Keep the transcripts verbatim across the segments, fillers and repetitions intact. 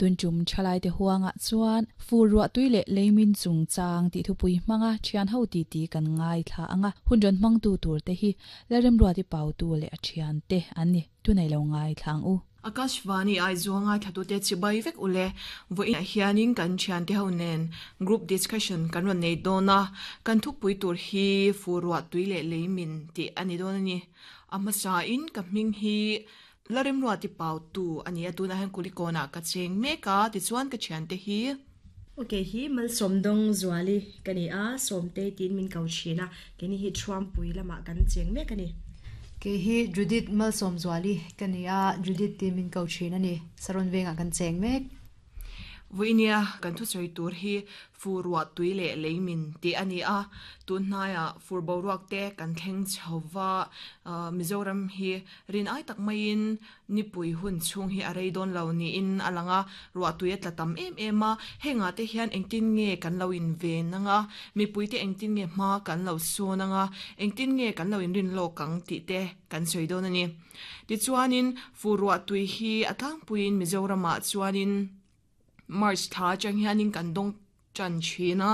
Tun tum thalai te huanga chuan fur ruah tui leh leimin chung chang ti thupui hmanga thian ho ti ti kan ngai thla anga hun ron hmang tu tur te hi Lalremruati Pautu leh a thian te an ni tunei lo ngai thlang u. Akashvani Aizawl ngaithlatute chibai vek ule vawiin hianin kan thiante ho nen group discussion kan rawn nei dawn a kan thupui tur hi fur ruah tui leh leimin tih a ni dawn a ni a hmasa in ka hming hi Lalremruati Pautu a ni a tunah hian Kulikawnah ka cheng mek a tichuan ka thiante hi Okay hi Malsawmdawng Zuali ka ni a Sawmte tiin min ko thin a keni hi Thuampui lamah kan cheng mek a ni. Ke hi Judith Malsawm Zuali ka ni a Judith ti min ko thin a ni Saron vengah kan cheng mek. Vawinia kan thusawi tur hi fur ruah tui leh leimin tih a ni a tun hnaiah fur boruak te kan thleng chhova Mizoram hi rin ai tak maiin nipui hun chhung hi a rei dawn lo niin a lang a ruah tui a tla tam em em a hengah te hian engtin nge kan lo in ven anga mipui te engtin nge hma kan lo sawn anga engtin nge kan lo in rin lawk ang tih te kan sawi dawn a ni tichuanin fur ruah tui hi a tlangpuiin Mizoramah chuanin March thla atang hianin kan dawng tan thin a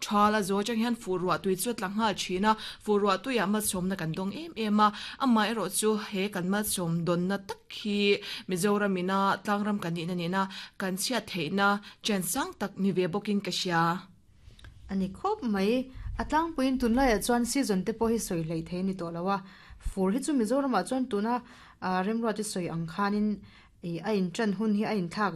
tha la zo atang hian fur ruah tui chu a tla nghal thin a fur ruah tuiah malsawmna kan dawng em em a amah erawh chu he kan malsawm dawnna tak hi Mizoramina tlangram kan nihna nena kan chhiat theihna chen sang tak ni ve bawkin ka hria. Ani khawp mai a tlangpuiin tunlaiah chuan season te pawh hi sawi hlei thei a ni tawh lo a fur hi chu Mizoramah chuan tuna remruati sawi ang khanin a in tan hun hi a inthlak